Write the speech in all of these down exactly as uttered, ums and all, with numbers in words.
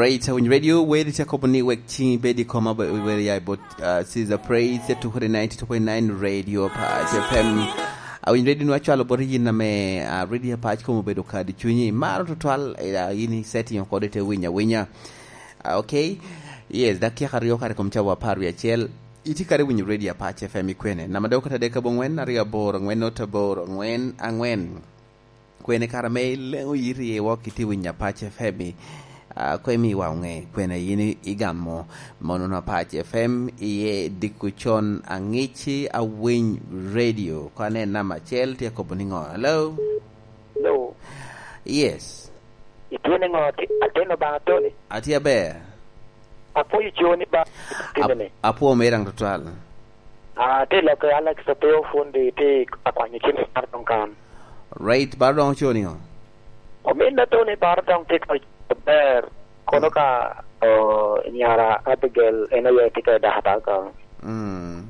Praise Awiny Radio, weri ca kobo ni wek ciŋi bed i koma, weri ya i bot, uh, Caesar Praise, ya tukere ninety two point nine Radio Pass F M. Awiny Radio nwa cwalo bot yin ame, uh, Radio Pass komo bedo kadi cunyi. Maro tutwal, eh, yin i setting kode te winya winya. Ah, okay. Yes, dakika aryo kare kom cawa apar wi acel. Iti kare winyo Radio Pass F M i kwene. Nama dok kata dek abongwen, aryo aboro, ngwen not aboro, ngwen, angwen. Kwene kara me leŋo yiri i wok iti winyo Apac F M i, ah, ko imi wa oŋe, kwene yin i-, igamo mono na Apac F M iye diko con aŋici Awiny Radio. Ko anen namba acel tye akobo ni ŋo? Hello? Hello? Yes. Itye ni ŋo? Ati-, atino ba Tony? Atye aber. Apwoyo coni ba Ap-, timene. Apwo me daŋ tutwal. Ah, te lokke Alex Opio Fundi, te akwanyo cim mar doŋ kan. Right, baro doŋ ocoo niŋo? Ominna to ni baro doŋ te ka ber. Kono ka, oh, nyara Abigail en aye tye ka i dakata ka. Mm.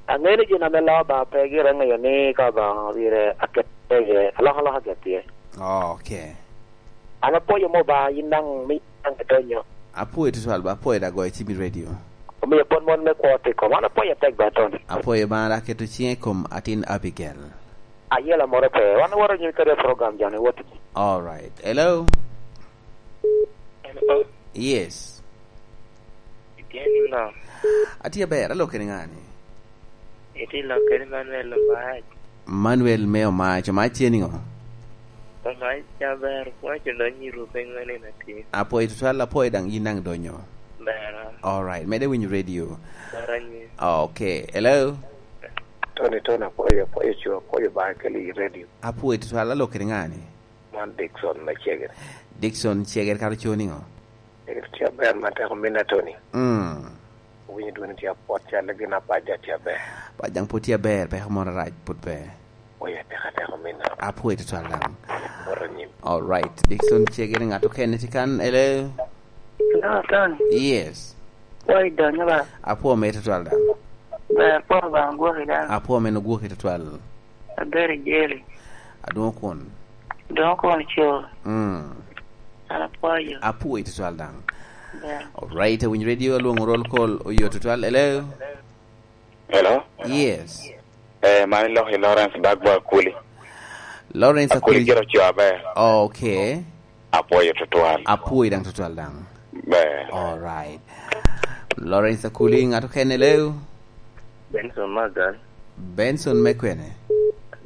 Aŋeo ni gin ame loo ba pe gire ŋeyo ni ka ba pire aket iye, alokaloka aket iye. Oh, okay. An apwoyo mo ba, yin daŋ mi daŋ idonyo. Apwoyo tutwal ba, apwoyo da goyo cim i radio. Omio pwod mon me kwo tye i kom. An apwoyo atek ba, Tony. Apwoyo ba, an aketo ciŋa i kom atin Abigail. Ayela moro pe. Wan waro nyim kede program joni wot. All right. Hello? Hello? Yes. Itye niŋo? Atye aber, alok kede ŋani? Itye lok kede Manuel Omac. Manuel me Omac, Omac tye niŋo? Omac ca ber, waco dong nyiru pe ŋwen en atir. Apwoyo tutwal, apwoyo daŋ yin daŋ donyo. Ber. All right, mede winyo radio. Ber anyi. Okay, hello? Tony, Tony, apwoyo, apwoyo co, apwoyo ba keli i radio. Apwoyo tutwal, alok kede ŋani? Man Dickson me Cegere. Dickson Cegere, kara co niŋo? Cegere tye aber, man teko minna Tony. Mm. Owinyo dwoni tye apwot, calle gin apaja tye aber. Pajaŋ pwod tye aber, peko moro arac pwod pe. Oya, teko, teko minna. Apwoyo tutwal daŋ. Wot anyim. All right. Dickson Cegere, ŋat okene tye kan, hello? Hello, Tony. Yes. Apwoyo donyo ba. Apwo me tutwal daŋ. Ber, apwo ba, agwoki daŋ. Apwo me nugwoki tutwal. Abedo i jeli. Adwoŋ kun. Adwoŋ kun co. Mm. An apwoyo. Apwoyo tutwal daŋ. Ber. All right, Awiny Radio, alwoŋo roll call, oyo tutwal. Hello? Hello? Yes. Eh, man iloko i Lawrence Bagbo Akuli. Lawrence Akuli. Akuli gire oco aber. Okay. Apwoyo tutwal. Apwoyo daŋ tutwal daŋ. Ber. All right. Lawrence Akuli, ŋat okene, hello? Benson Magal. Benson me kwene?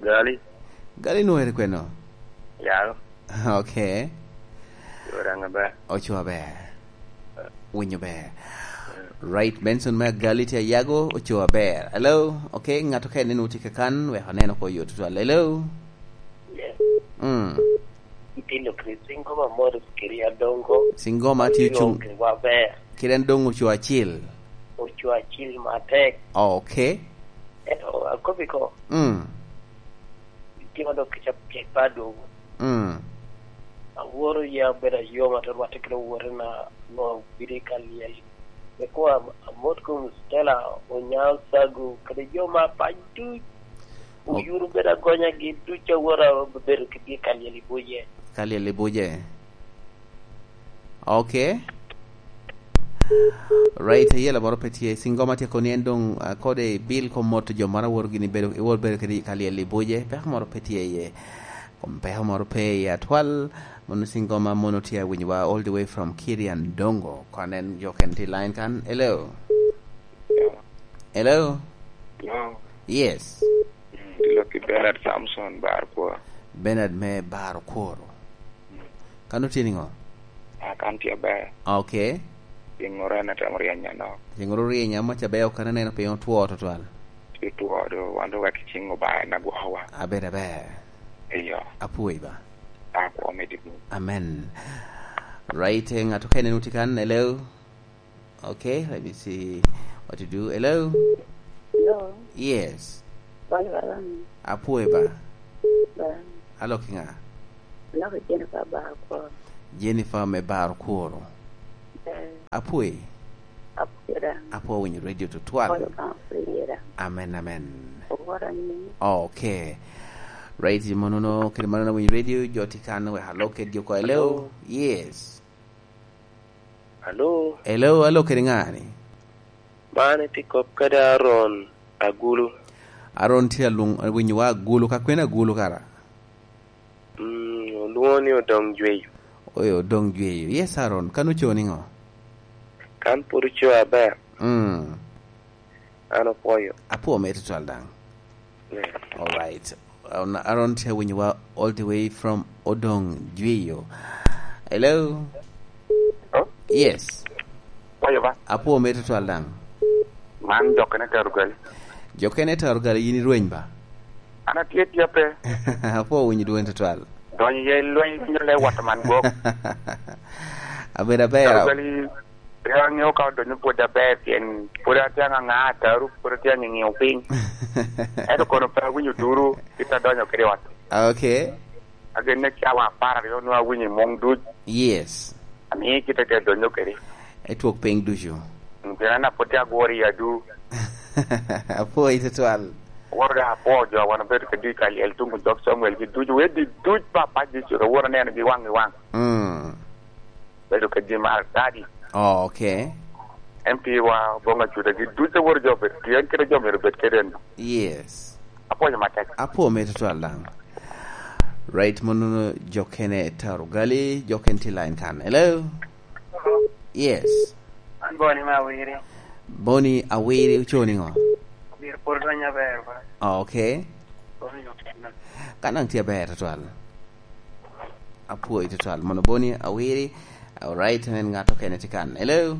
Gali. Gali nwere kweno? Yalo. Okay. Oco aber. Oco aber. Winyo ber. Right, Benson me Gali tye Ayago, oco aber. Hello? Okay, ŋat okene nwoŋo tye kakan, wek aneno ko yo tutwal. Hello? Yes. Mm. Itino kede Singoma Morris kede Adongo. Singoma tye ocung. Kede wan ber. Kede en dong oco acil. Oco acil matek. Oh, okay. Ento akobi ko. Mm. Itimo dok kica pik pa dwogo. Mm. Aworo ya bedo ayoma te rwatte kede owote na ŋo bidi ka lyel. Eko am-, amot kom Stella, Onyao Sagu, kede jo ma pac duc. Ok. Oyuro bedo agonyagi duc, aworo bedo kede ka lyel i buce. Ka lyel i buce. Okay. Right, ayela moro pe tye. Singoma tye koni en dong, ah, kode bil kom mot jo moro aworo gini bedo, iwor bedo kede ka lyel i buce. Peko moro pe tye iye. Kom peko moro pe iye atwal. Mono Singoma mono tye awinyowa all the way from Kirian Dongo. Kon en jo ken tye line kan. Hello? Hello? Hello? Yes. Mm, ilok ki Bernard Samson Bar Kwor. Bernard me Bar Kwor. Mm. Kan otye niŋo? Ah, kan tye aber. Okay. Piny ŋoro en atemo ryeny anok. Piny ŋoro ryeny amo ca ber okene neno piny otwo tutwal. Tye two do, wan do wek cing Obaŋa en agwokowa. Abedo aber. Eyo. Apwoyi ba. Akwo me dikni. Amen. Right, eh, ŋat okene nu tye kan, hello? Okay, let me see what to do. Hello? Hello? Yes. Bal, bal, um, apwoyo ba. Bal. Alok i ŋa? Alok i Jennifer Bar Kwor. Jennifer me Bar Kwor. Eh. Apwoyo. Apwoyo da. Apwoyo winyo radio tutwal. Apwoyo ka apwoyo da. Amen, amen. Owora ni. Okay. Right, monono, kede mano na winyo radio, jo tye kan wek alok kede jo ko. Hello? Hello? Yes. Alo? Hello, alo, kede ŋa ni? Man itye kop kede Aaron Agulu. Aaron tye alwong, winyowa Agulu, ka kwene Agulu kara? Mm, olwoŋo ni Odong Jweyo. Oyo, Odong Jweyo. Yes, Aaron, kan oco niŋo? Kan pwod oco aber. Mm. An opwoyo. Apwo me tutwal daŋ. Yeah. All right. Um, Aaron tye winyowa all the way from Odong Jweyo. Hello? Hello? Yes. Pwoyo ba? Apwo me tutwal daŋ. Man jokene tero gali. Jokene tero gali, yin irweny ba? An atye tye pe. Apwo winyo dwon tutwal. Donyo ye lweny, winyo le wat man gwok. Abedo aber. Tero gali, pe aŋeo ka odonyo pwod aber, pien pwod atye aŋaŋa, ataru pwod atye aŋiŋio piny. Ento kono pe awinyo duru, kit adonyo kede ot. Okay. Agenne cawa apar aryo nwa awinyo i muŋ duc. Yes. Amio kite te donyo kede. Etwok piny ducu. Mm, pien an apwod tye agworo i adu. Apwoyi tutwal. Woro da apwo jo wan obedo kede i Kaliel tuŋ jok Samuel gi ducu, wedi duc papa Jecu, aworo neno gi waŋ i waŋ. Mm. Bedo kede mar dadi. Oh, okay. En pi wa boŋ acuda gi duc aworo jo obedo, pien kede jo myero obed kede en. Yes. Apwonyo matek. Apwo me tutwal daŋ. Right, mono jo kene taro gali, jo ken tye line kan. Hello? Yes. An Boni me Awiri. Boni Awiri, oco niŋo? Myero pwod odony aber, ba. Oh, okay. Boni okinna. Kan daŋ tye aber tutwal. Apwoyi tutwal. Mono Boni Awiri. All right, en ŋat okene tye kan. Hello?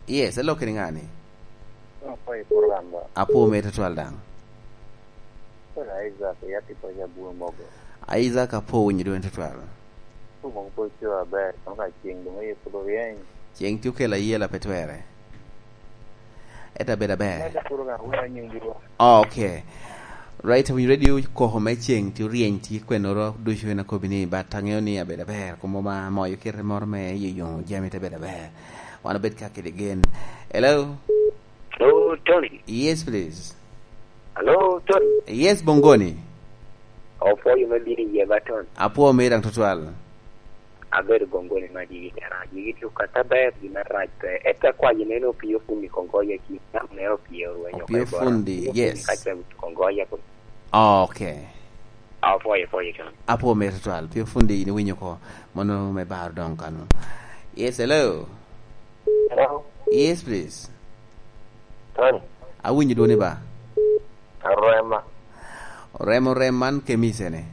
Yes, hello, keni ŋani? Apwoyi program ba. Apwo me tutwal daŋ. Kore Isaac, ya tipo ya buo mogo. Isaac, apwo winyo dwon tutwal. Tumo ko co aber, kama ka ceng dong aye pwod oryeny. Ceng tye okelo ayela pe twere. Ento abedo aber. Ento pwod oga wira nying dirwa. Oh, okay. Right, winyo radio koko me ceng tye oryeny tye kwennoro ducu en akobi ni, but aŋeo ni abedo aber. Komo ma moyo kite moro me yoyo jami te bedo aber. Wan obed ka kede gen. Hello? Hello, Tony. Yes, please. Hello, Tony. Yes, Bongoni. Opwoyo me bino i yie ba, Tony. Apwo me daŋ tutwal. Abedo Bongoni ma digi kara, digi tye okato aber, gin arac pe. Eka kwayo neno opio fundi Kongoya ki, nam ne opio rwenyo Opio fundi, yes. Ka ce Kongoya ko. Oh, okay. Apwoyo, apwoyo, Tony. Apwo me tutwal. Pio fundi in iwinyo ko. Mono me baro dong kano. Yes, hello. Hello? Yes, please. Tony? Awinyo dwoni ba? Arema. Oremo rem man kemisene.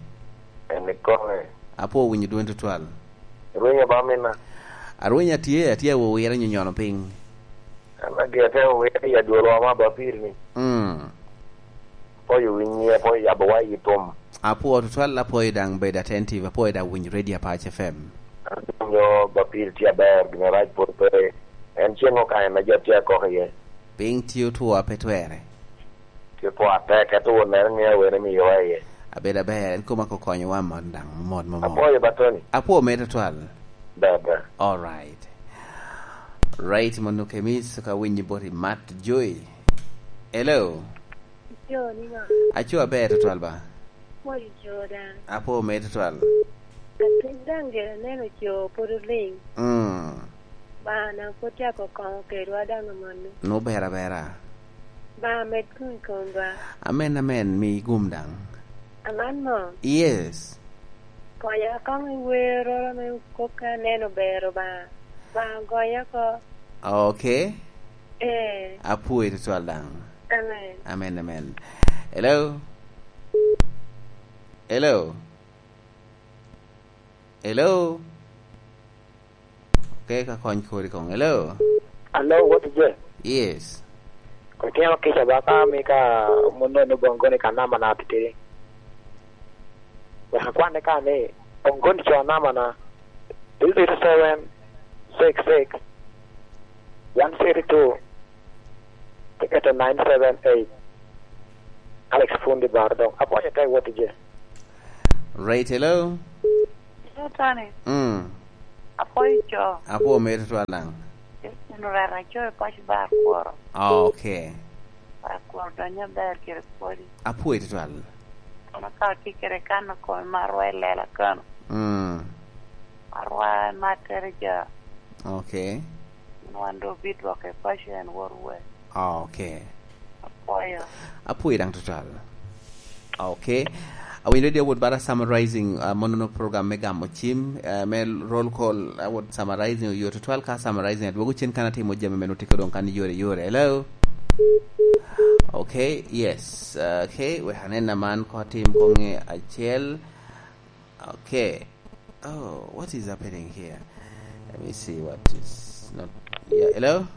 En ikome. Apwo winyo dwoni tutwal. Rwenya ba mina. Arwenya tye, atye awowira nyonyono piny. An agi atemo wira i adwolwa ma ba piri ni. Mm. Apwoyo winyi, apwoyo yabo wa i tum. Apwo tutwal, apwoyo daŋ bedo attentive, apwoyo daŋ winyo Radio Apac F M. An winyo ba piri tye aber, gin arac pwod pe. En ceng okanye na jat tye akok iye. Piny tye otwo a pe twere. Tye otwo atek, ento won neno ni awene miyowa iye. Abedo aber, en koma ko konyowa mot daŋ, mot, mot, mot. Apwoyo ba Tony. Apwo me tutwal. Ber, ber. All right. Right, mono kemis ka winyi boti mat joy. Hello. Jo niŋo? Aco aber tutwal ba. Pwoyo jo daŋ. Apwo me tutwal. Atin daŋ gire aneno co pwod oliŋ. Mm. Bana pwod cako koŋo kedwa daŋ amanno. Nwo ber abera. Ba med gum i kom ba. Amen, amen, mi gum daŋ. Aman mo? Yes. Konya koŋ i wer oro me kop ka aneno ber Obaŋa. Obaŋa gonya oko. Okay. Eh. Apwoyi tutwal daŋ. Amen. Amen, amen. Hello? Hello? Hello? Okay, ka kony kodi koŋ. Hello? Hello, what is it? Yes. Kutino kica ba ka mi ka muno ni Bongoni ka nama na titidi. Wek akwanne ka ni, Bongoni co nama na. Three zero seven, six six, one three two, tiketo nine seven eight. Alex Fundi Baro dong. Apwoyo te wot i je. Right, hello? Hello, Tony. Mm. Apwoyo co. Apwo mere tutwal daŋ. Yesu rwera co i paco bar kworo. Ah, okay. Bar kworo donyo aber kede pwodi. Apwoyo tutwal. Kono ka otye kede kano kome ma arwa i lela kano. Mm. Arwa ma tere ja. Okay. Nwan do bidwoke paco en wot we. Okay. Apwoyo. Apwoyo daŋ tutwal. Okay. Awinyo radio awot bara summarizing, uh, monono program me gamo cim, uh, me roll call, awot summarizing oyo tutwal ka summarizing adwogo cen kan atimo jami me nutiko doŋ kan yore yore. Hello? Okay, yes. Uh, okay, we hanen naman ko tim konge acel. Okay. Oh, what is happening here? Let me see what is not. Yeah, hello?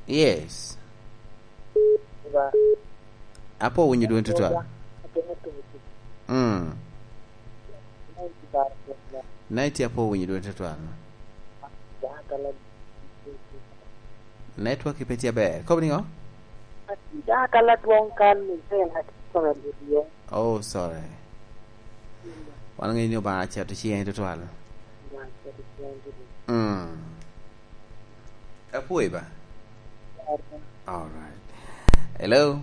Yes. Apo winyo dwon tutwal. Mm. Night apo winyo dwon tutwal. Network pe tye aber. Kobo niŋo? Atye dok aladwoŋ kan ni zel atye kome lut ye. Oh, sorry. Wan ŋeyo ni Obaŋa acito ciŋe tutwal. Obaŋa acito ciŋe tutwal. Mm. Apwoyo ba? All right. Hello?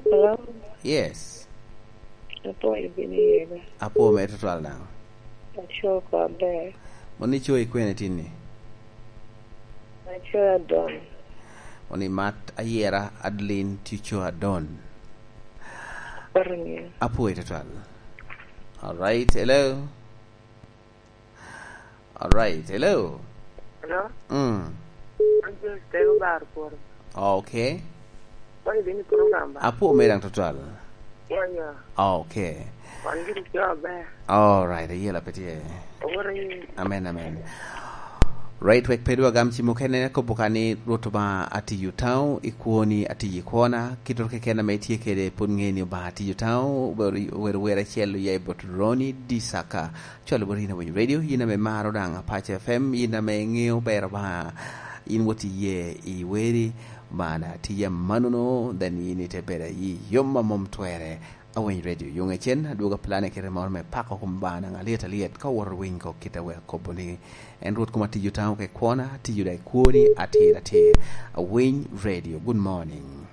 Hello? Yes. Apwoyo bino iye ba? Apwoyo mere tutwal daŋ. Aco ko aber. Mon ico i kwene tinni? Aco Adon. Mon imat ayera Adeline Tico Adon. Apwoyo tutwal. All right. Hello? All right. Hello? Hello? Mm. An James Tego Bar Kworo. Okay. Wany bini program ba? Apo me daŋ tutwal. Ya, ya. Okay. Wan gini jo aber. All right. Ayela pe tye. Aworo yi. Amen, amen. Right, wek pe dwa gam cimo kene, kobo ka ni Rwot Obaŋa atiyo taŋo, i kwoni atiyo i kwona, kit rok keken ame itye kede pwod ŋe ni Obaŋa atiyo taŋo, wer, wer, wer acel oya i bot Ronnie Disaka. Cwalo bot yin awinyo radio, yin ame maro daŋ Apac F M, yin ame ŋeo ber Obaŋa, yin wot iye i weri, Obaŋa daŋ atiye amannono, then yin ite bedo ayi yom a mom twere. Awiny Radio, yoŋe cen, adwogo apilane kite moro me pako kom Obaŋa naŋ alyet alyet, ka owoto winy kok kite wek kobo ni, en Rwot kom atiyo taŋo ke kwona, atiyo daŋ i kwoni atir atir. Awiny Radio, good morning.